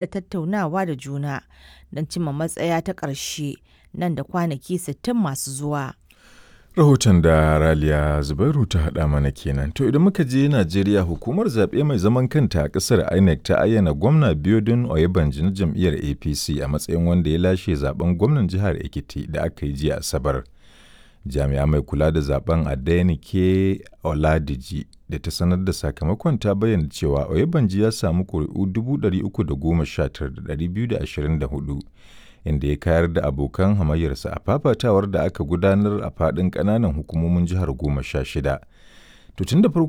Da tattaunawa da juna don cimma matsaya ta ƙarshe nan da kwanaki 60 masu zuwa. Rahoton da Raliya Zubairu ta haɗa mana kenan. To idan muka je Najeriya, hukumar zaɓe mai zaman kanta a ƙasar INEC ta ayyana gwamna Biodun Oyebanji na jam'iyyar APC a matsayin wanda ya lashe zaben gwamnan jihar Ekiti da aka yi jiya Asabar. Jami'a mai kula da zaben Adenike Oladiji da ta sanar da sakamakon ta bayyana cewa Oyebanji ya samu ƙuri'u 319,224, inda ya kayar da abokan hamayyarsa a fafatawar da aka gudanar a faɗin ƙananan hukumomin jihar 16. To tun da farko